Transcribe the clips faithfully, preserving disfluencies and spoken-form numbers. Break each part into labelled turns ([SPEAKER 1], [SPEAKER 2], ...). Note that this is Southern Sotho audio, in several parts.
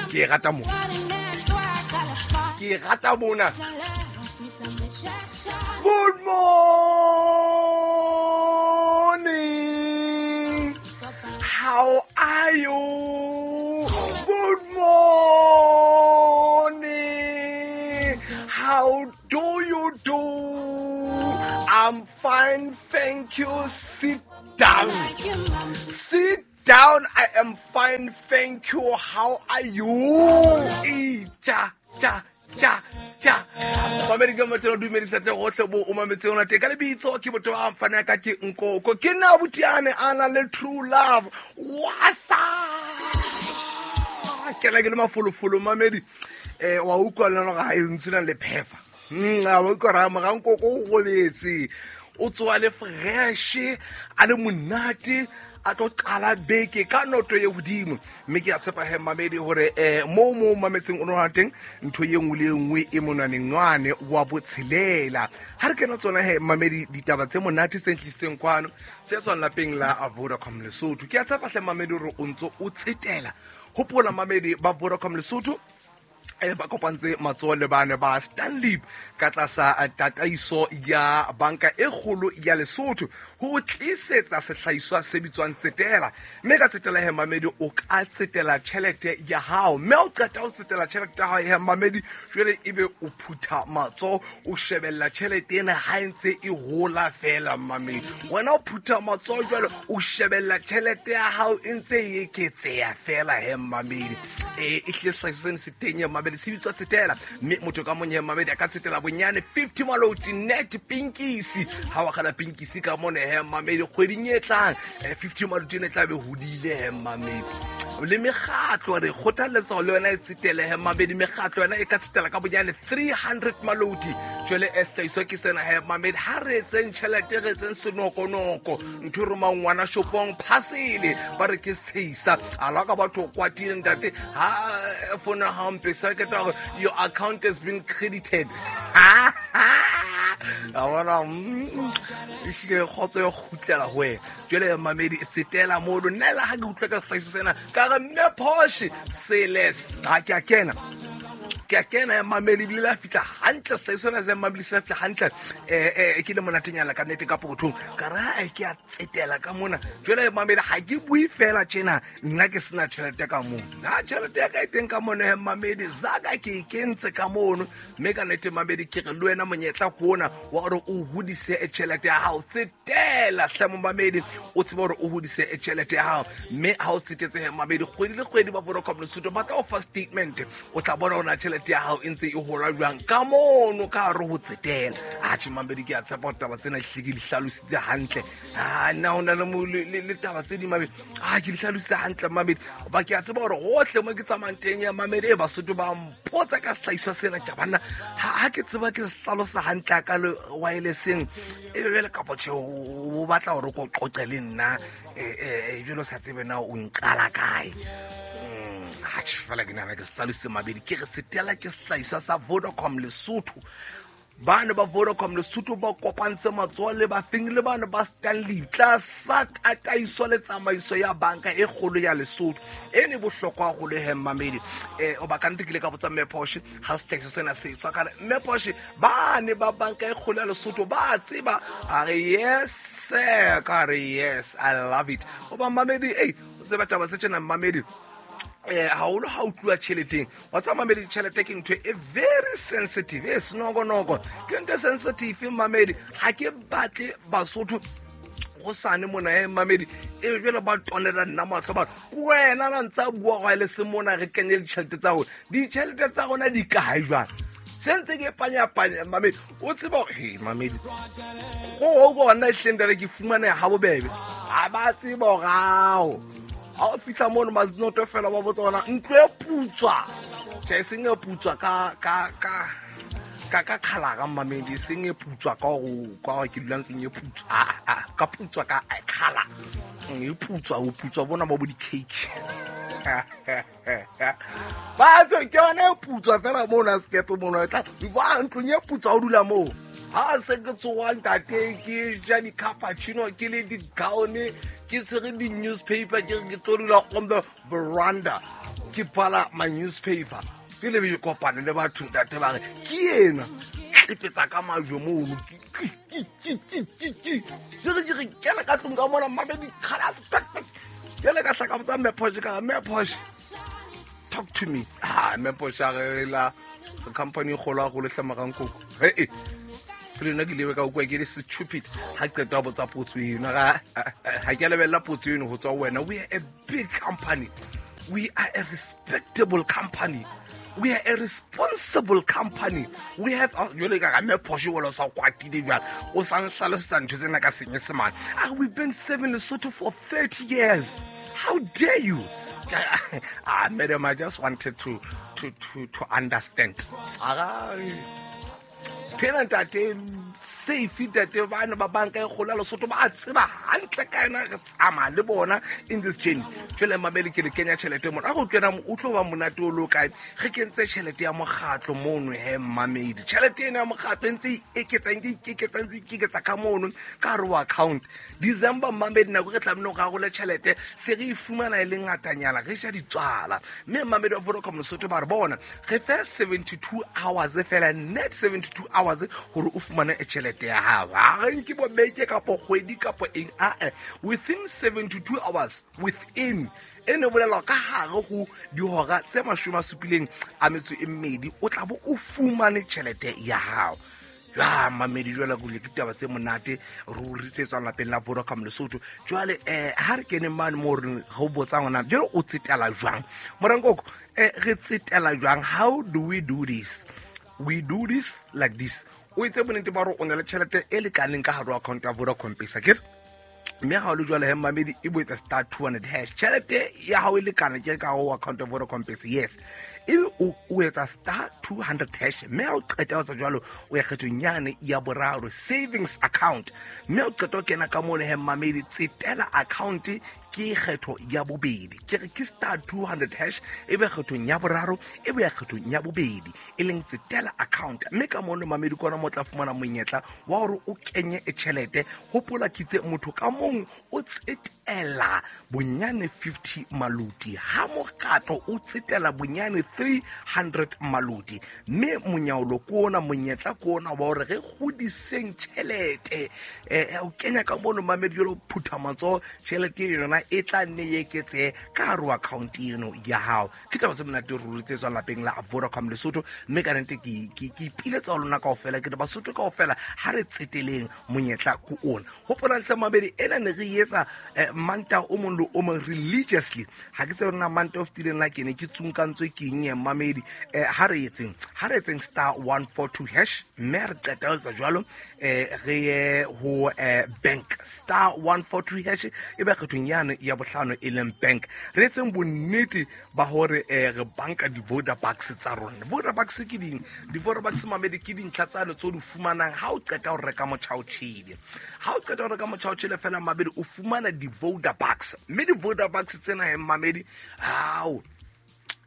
[SPEAKER 1] Ke rata mona, ke rata mona. Good morning, how are you? Good morning, how do you do? I'm fine, thank you. Sit down. Sit down. I am fine, thank you. How are you? E ja ja ja ja. Mamedi ka motho dumedisa tse gohle bo o mametse ona teng ka lebitso ke motho wa mfana ka ke Nkoko. Ke nna butiane a na le true love. Wasa. Ke la ke le mafolofolo mamedi. Eh wa utlwa le ga e ntse le phefa. Mm a wa utlwa ra moga Nkoko o goletse. O tswa le fresh a le monate a tlo qala beke ka noto ye hodimo. Mme ke a tshepa he mamedi hore eh mo mo mametseng o nona teng ntho ye nngwe le nngwe e monaneng ngwane wa botshelela. Ha re kena tsona he mamedi ditaba tse monate tse ntlisitseng kwano tse tswang lapeng la Vodacom Lesotho. Ke a tshepa hle mamedi hore o ntso o tsetela. Hopola mamedi ba Vodacom Lesotho e ba kopantse matsoho le bane ba Stanley ka tlasa tataiso ya banka e kgolo ya Lesotho ho tlisetsa sehlahiswa se bitswang tsetela. Mme ka tsetela he mamedi o ka tsetela tjhelete ya hao, mme o qeta ho tsetela tjhelete ya hao he mamedi jwale ebe o phutha matsoho o shebella tjhelete ena ha e ntse e hola fela mamedi. Wena o phutha matsoho jwale o shebella tjhelete ya hao e ntse e eketseha fela he mamedi. E ehlile sehlahiswa sena se teng ya mamedi se bitswa tsetela, mme motho ka mong ya mamedi a ka tsetela bonyane fifty maloti net pinkisi. Ha wa kgala pinkisi ka mone he mamedi kgweding e tlang fifty maloti ne tla be hodile he mamedi. Le mekgatlo re kgothaletsa le yona e tsetele he mamedi, mekgatlo yona e ka tsetela ka bonyane three hundred maloti. Jwale e sehlahiswa ke sena he mamedi, ha re etseng tjhelete re etseng senokonoko ntho e romang ngwana shopong phasele ba re ke seisa a la ka batho kwatile ntate ha fona hampe sa ke tla your account has been credited. A bona ehlile kgotso ya kgutlela ho wena. Jwale mamedi tsetela mono nna le ha ke utlwa ka sehlahiswa sena ka re mme Porsche seles ha ke a kena ke a kena ya mamedi ebile la fihla hantle sehlahiswa sena se mamedi se fihla hantle eh eh ke le monatenyana ka nnete ka pokothong ka re ha ke a tsetela ka mona. Jwale mamedi ha ke bue fela tjena nna ke sena tjhelete ka mono, na tjhelete ya ka e teng ka mono he mamedi zaka ke e kentse ka mono. Mme ka nnete mamedi ke re le wena monyetla ke ona wa hore o hodise tjhelete ya hao. Tsetela hle mo mamedi o tsebe hore o hodise tjhelete ya hao, mme ha o tsetetse he mamedi kgwedi le kgwedi ba Vodacom Lesotho ba tla o fa statement, o tla bona hore tjhelete ya hao e ntse e hola jwang ka mono ka hare ho tsetela. Atjhe mamedi ke a tshepa hore taba tsena hle ke di hlalositse hantle. Ah nna ho na le le taba tse ding mamedi, ah ke di hlalositse hantle mamedi. Ba ke a tseba hore hohle mo ke tsamayang teng ya mamedi e Basotho ba mpotsa ka sehlahiswa sena tja banna ha ke tseba ke se hlalosa hantle ka le wirelesseng e be le kapa tjhe o batla hore ko qoqe le nna eh eh jwalo sa tsebe na o nqala kae. Atjhe fela ke nahana ke se hlalositse mabedi ke re setela ke sehlahiswa sa Vodacom Lesotho. Bana ba Vodacom Lesotho ba kopantse matsoho le ba feng le bana ba Stanley tlasa tataiso le tsamaiso ya banka e kgolo ya Lesotho. E ne bohlokwa haholo he mamedi. Eh o ba ka nnete ke ile ka botsa mme Porsche ha sehlahiswa sena se tswa ka re mme Porsche ba ne ba banka e kgolo ya Lesotho ba tseba a re yes sir ka re yes I love it. O ba mamedi ei o tseba taba tse tjena mamedi eh haholo ha o tluwa tjheleteng wa tsa mamedi tjhelete ke ntho e very sensitive e senokonoko ke ntho e sensitive mamedi. Ha ke batle Basotho go sane mona e mamedi e jwale ba tonela nna mahlo ba wena na ntsa bua go le se mona re kenye ditjhelete tsa rona ditjhelete tsa rona di kae jwang se ntse ke panya panya mamedi o tseba hore he mamedi go go bona ehleng dale ke fumane ha bobebe ha ba tseba hore ao ha o fihla mono mazinoto fela ba botsa ona ntlo e putswa tjhe e seng e putswa ka ka ka ka ka khalara mamedi e seng e putswa ka go ka gore ke dula ntlong e putswa a ka putswa ka khala e putswa o putswa bona ba bo di-cake batho ke yona e putswa fela mono a sekepe mono e tla ba ntlong e putswa o dula moo. Ha se ke tsoha ntate ke ja di-cappuccino ke le di-gown ke tshwere di-newspaper ke re ke tlo dula on the veranda ke ke bala my newspaper ke le be kopane le batho ntate ba re ke ena tlepetsa ka majwe mono ke re ke kena ka tlung ka mona mamedi khalas jwale ka hlaka botsa Mme Porsche ka Mme Porsche talk to me. Ah Mme Porsche a re la company e kgolo haholo hlamagang koko he pele nna ke ile ka ukwa ke le stupid ha qeta ho botsa potso eno ga ha ke lebella potso eno ho tswa wena. We are a big company, we are a respectable company, we are a responsible company, we have jwale ka Mme Porsche wala sa kwatile jwang o sa nhlalosetsa ntho tsena ka Senyesemane. Ah, we've been serving Lesotho for thirty years, how dare you. Ah madam, I just wanted to to to to understand. Ah phela ntate safe ntate bana ba banka e kgolo ya Lesotho ba tseba hantle ka yona re tsamaya le bona in this journey. Jwale mamedi ke le kenya tjhelete mona a go kena o tlo ba monate o lo kae re kentse tjhelete ya mokgatlo mono he mamedi tjhelete ena ya mokgatlo e ntse e eketsa e ikeketsa e ikeketsa ka mono ka hare ho account. December mamedi nako re tlamehile ho rarole tjhelete se re e fumana e le ngatanyana re ja ditswala mme mamedi wa Vodacom Lesotho ba re bona re fe seventy-two hours fela net seventy-two hours hore o fumane tjhelete ya hao. Ha re nke bo beke kapo kgwedi kapo eng a e within seventy-two hours within e ne bolela ka hare ho dihora tse mashome a supileng a metso e mmedi o tla bo o fumane tjhelete ya hao. Ya mamedi jwale go le ditaba tse monate ruri tse tswang lapeng la Vodacom Lesotho. Jwale eh ha re kene mane mo re go botsa ngwana jwale o tsetela jwang morankoko eh re tsetela jwang, how do we do this? We do this like this. O itse bonnete ba hore o na le tjhelete e lekaneng ka hare ho account ya Vodacom Pesa ke mme ha o le jwale he mamedi e bo etsa star two hundred hash tjhelete ya hao e lekana ke ka ho account ya Vodacom Pesa yes ebe o o etsa star two hundred hash mme ha o qeta ho etsa jwalo o ya kgethong yane ya boraro savings account mme o qeta ho kena ka mono he mamedi tsetela account ke kgetho ya bobedi ke re ke star two hundred hash ebe kgethong ya boraro ebe ya kgethong ya bobedi e leng tsetela account mme ka mono mamedi kona mo tla fumana monyetla wa hore o kenye e tjhelete. Hopola kitse motho ka mong o tsetela bonyane fifty maluti ha mokgatlo o tsetela bonyane three hundred maluti mme monyaolo ke ona monyetla ke ona wa hore re kgodiseng tjhelete eh o kenya ka mono mamedi jwalo phutha matsoho tjhelete yona e tla nne e eketse ka hare ho account eno ya hao. Ke taba tse monate ruri tse tswang lapeng la Vodacom Lesotho mme ka nnete ke ke ke ipiletsa ho lona kaofela ke re Basotho kaofela ha re tseteleng monyetla ko ona. Hopola ntle mamedi ena ne re etsa manta o mong le o mong religiously ha ke se rona manta o fetileng la kene ke tsunkantswe ke eng ya mamedi ha re etseng ha re etseng star one four two hash mme re qeta ho etsa jwalo eh re ye ho bank star one four two hash e be kgethong yane ya bohlano e leng bank re etseng bonnete ba hore re banka di-Vodabucks tsa rona. Vodabucks ke ding di-Vodabucks mamedi ke dintlha tsane tse o di fumanang ha o qeta ho reka motjhaotjhele ha o qeta ho reka motjhaotjhele fela mamedi o fumana di-Vodabucks mme di-Vodabucks tsena he mamedi hao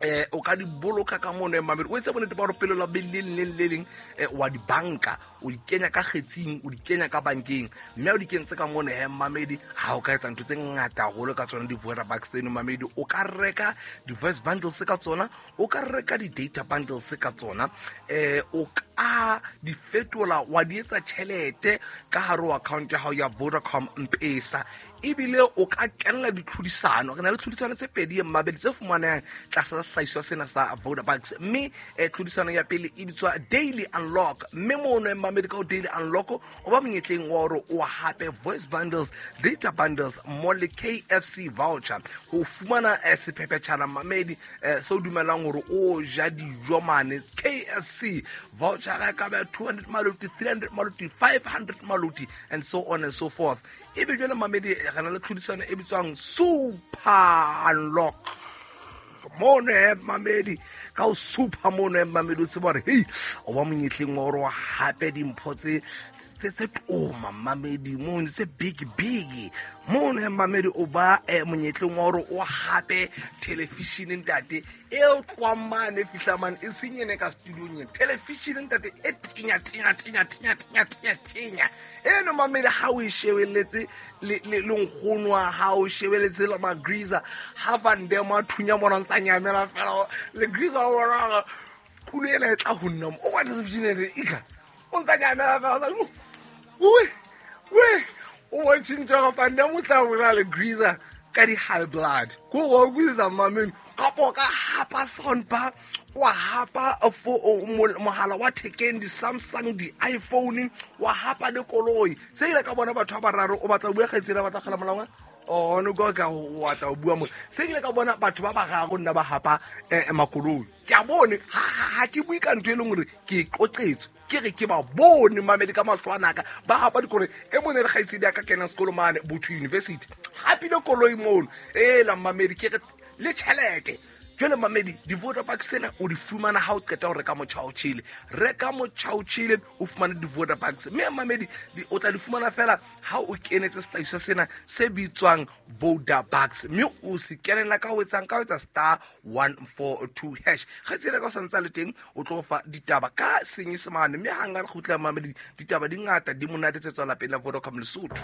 [SPEAKER 1] eh o ka di boloka ka mono e mamedi o etse bonnete ba hore pele la bele le leng le leng wa di banka o di kenya ka kgetsing o di kenya ka bankeng mme o di kentse ka mono he mamedi ha o ka etsa ntho tse ngata haholo ka tsona di-Vodabucks tseno mamedi o ka reka di-voice bundles ka tsona o ka reka di-data bundles ka tsona eh o ka di fetola wa di etsa tjhelete ka hare ho account ya hao ya Vodacom M-Pesa ebile o ka kenela ditlhodisano. Re na le tlhodisano tse pedi mmabedi tse fumanehang tlasa sehlahiswa sena sa Vodabucks mme tlhodisano ya pele e bitswa Daily Unlock mme mono mmamedi ka o Daily Unlock o ba monyetleng wa hore o hape voice bundles, data bundles mo le K F C voucher ho fumana sephephetjhana mamedi se o dumelang hore o ja dijo mane K F C voucher ga ka ba two hundred maluti, three hundred maluti, five hundred maluti and so on and so forth. Ebe jwale mamedi re na le tlhodisano e bitswang Super Unlock mono e mamedi ka o super mono e mamedi o tseba hore hei o ba monyetleng wa hore hape dimpho tse tse tse toma mamedi mono tse big big Mono mamedi o ba eh, monyetleng wa hore o hape television ntate e tloang mane fihla mane e seng ene ka studiong ena. Television ntate e tenya tenya tenya tenya tenya tenya tenya. Eno mamedi ha o e shebelletse le le le nkgono wa hao, o shebelletse le Magriza ha Van Damme a thunya mona ntsa nyamela fela le Griza o bona kulo ena e tla ho nna mo. O wa television ene ika o ntsa nyamela fela ui ui o bontshitse gore Van Damme o tla bolela le Griza ka di-high blood ko go utlwisisa mameng kapo o ka hapa soundbar wa hapa mohala wa thekeng di-Samsung di-iPhone wa hapa le koloi se ile ka bona batho ba bararo o batla ho bua kgaitsedi a batla kgela molao oh no go ka o batla ho bua mo se ile ka bona batho ba bararo nna ba hapa eh, makoloi ke a bone ha ke bue ka ntho e leng hore ke e qoqetswe ke re ke ba bone mamedi ka mahlo a naka ba hapa dikoloi e mone le kgaitsedi ya ka kenang sekolo mane Botho University hapile koloi mono e la mamedi ke re le tjhelete. Jwale mamedi di-Vodabucks tsena o di fumana ha o qeta ho reka motjha o tjhele reka motjha o tjhele o fumane di-Vodabucks mme mamedi o tla di fumana fela ha o kenetse sehlahiswa sena se bitswang Vodabucks mme o se kenela ka ho etsang ka ho etsa star one four two hash kgaitsedi ka o sa ntsa le teng o tlo fa ditaba ka senyesemane mme hang ha re kgutla mamedi ditaba di ngata di monate tse tswang lapeng la Vodacom Lesotho.